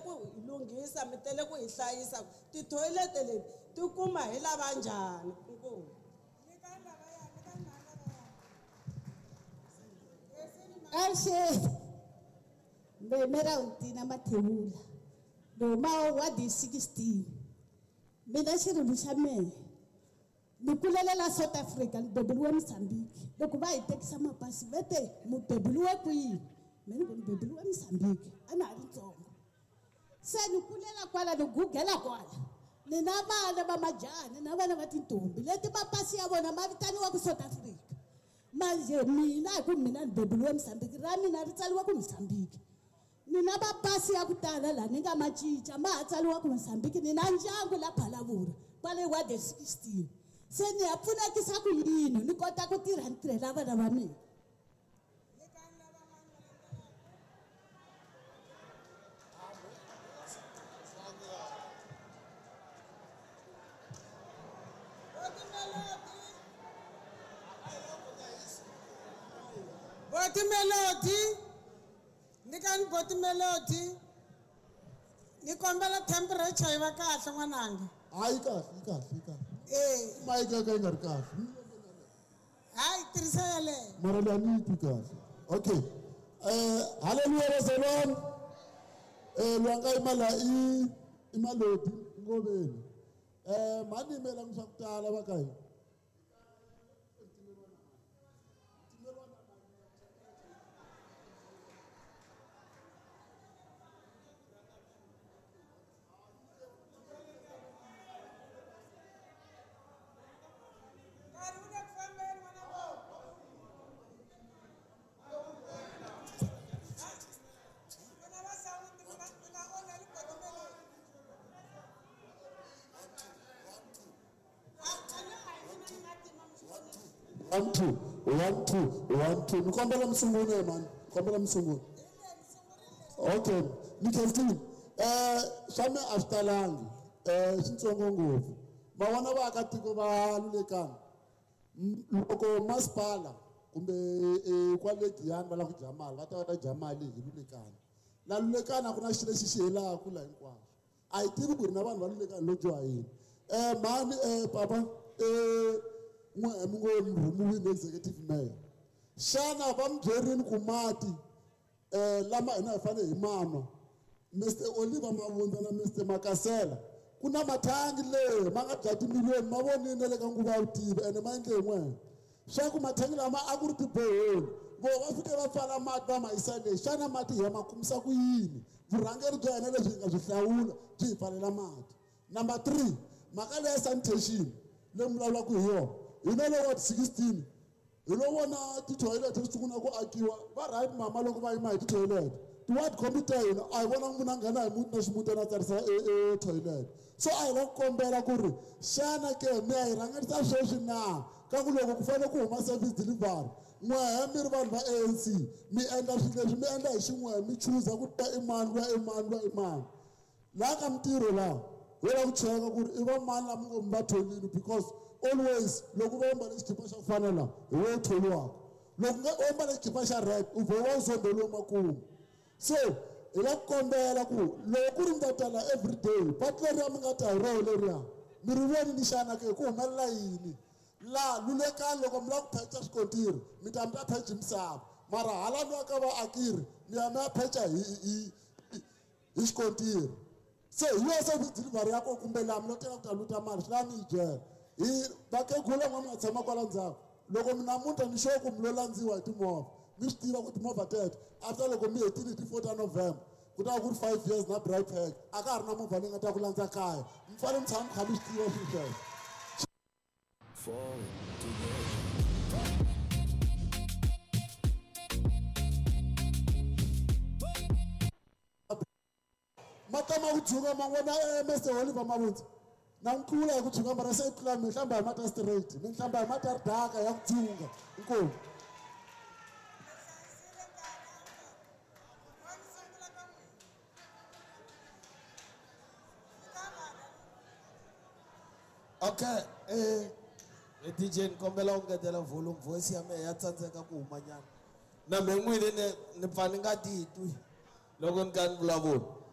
ku hi lunghisa, mi tele ku hi hlayisa. Tithoyilete leti ti kuma hi lava njhani? Inkomu. Avuxeni. Meme ra Ntina Mathebula. Ni huma wadi 16. Mina xirilo xa mehe ni kulele la South Africa, ni beburiwe Mozambique. Loko va hi tekisa mapasi va te mu beburiwe kwini? Me ni ku ni beburiwe Mozambique, a na ha ri ntsongo. Se ni kulela kwala, ni gugela kwala. Ni na vana va majaha, ni na vana va tintombi leti mapasi ya vona ma vitaniwa ku South Africa. Manje mina hi ku mina ni beburiwe Mozambique, ra mina ri tsariwa ku Mozambique. Ni na mapasi ya ku tala laha ni nga ma cinca ma ha tsariwa ku Mozambique. Ni na ndyangu la Phalaborwa kwale ward 16. Se ni ya pfunekisa ku yini ni kota ku tirha ni tirhela vana va mina? Boti Melody, nyikani Boti Melody. Ni kombela temperature yi va kahle n'wananga. Hayi kahle, yi kahle, yi kahle. Eh. Mic ya ka yi nga ri kahle. Hayi tirhisa yaleyo. Mara leyi a ni yi twi kahle. Okay. Hallelujah bazalwane. Loyi a nga yima laha i Malodi Ngoveni. Mhani yimela swa ku tala va ka hina. 1 2 1 2 1 2. Ni kombela mi sungula mani, ni kombela mi sungula. Okay, ni khensile. Swa me a swi talangi, switsongo ngopfu. Ma vona vaakatiko va Lulekani, loko masipala kumbe kwale Giyani va lava ku dya mali, va ta va ta dya mali hi Lulekani. La Lulekani a ku na xilo lexi xi helaka la hinkwaswo. A hi tivi ku ri na vanhu va Lulekani lo dyoha yini. Mhani, papa, n'we mi ngo mi rhumiwile executive mayor. Xana va mi byerini ku mati lama hina hi fanele hi manwa? Mr Oliver Mavundza na Mr Makasela, ku na mathangi le ma nga bya timiliyoni, ma vonile na le ka nguva ya vutivi ene ma endle hi n'wena. Swa ku mathangi lama a ku ri tiboholi, vo va fike va pfala mati va ma yisa le. Xana mati hi ya ma kumisa ku yini? Vurhangeri bya hina lebyi hi nga byi hlawula byi hi pfalela mati. Number 3, mhaka leya sanitation leyi mi vulavulaka hi yona, hina le ward 16 hi lo vona tithoyilete ti sungula ku akiwa. Va right mama loko va yima hi tithoyilete, ti-ward committee ta hina a hi vona munhu a nghena hi muti na ximutana a tsarisa e toilet. So a hi la ku kombela ku ri xana ke mi ya hi rhangerisa sweswi na? Ka ku loko ku fanele ku huma service delivery, n'wehe mi ri vanhu va ANC mi endla swilo leswi, mi endla hi xin'wehe, mi chuza ku ta i mani, luya i mani, luya i mani. Laha ka mintirho laha ho lava ku cheka ku ri i va mani lava ngo mi va tholile, because always loko va ambale xikipa xa ku fana laha hi wo tholiwaka. Loko nga u ambale xikipa xa red u vhe wa u zondheliwe makumu. So hi la ku kombela ku loko ku ri mi ta tala every day, patu leriya mi nga ta hi roho leriya mi ri vonile xana ke ku humelela yini? Laha Lulekani loko mi lava ku pheca swikontiri mi ta mi ta pheca misava, mara hala luya ka vaakiri mi ya mi ya pheca hi xikontiri. Se hi yona service delivery ya kona, kumbe laha mi lo tela ku ta luta mali, swi lava mi yi byela. Hi vakhegula n'we mi nga tshama kwala ndzhaku, loko mi namuntlha ni sure ku mi lo landziwa hi timovha, mi swi tiva ku timovha teto after loko mi hetile hi ti 4 ta November ku ta va ku ri 5 years na bright pack, a ka ha ri na movha leyi nga ta ku landza kaya. Mi fanele mi tshama mi kha mi swi tiva swilo sweswo. Forward together. Ma ta ma ku tshuka ma vona, Mister Oliver Mavundza. Na n'wi tlula hi ku tshuka, mara se i tlula mi hlamba hi mati ya straight, mi hlamba hi mati ya ridaka ya ku tshunga. Inkomu. Okay, DJ ni kombela u ngetela volume, voice ya mehe ya tsandzeka ku huma nyana. Na me n'wini ni pfa ni nga titwi loko ni kha ni vulavula.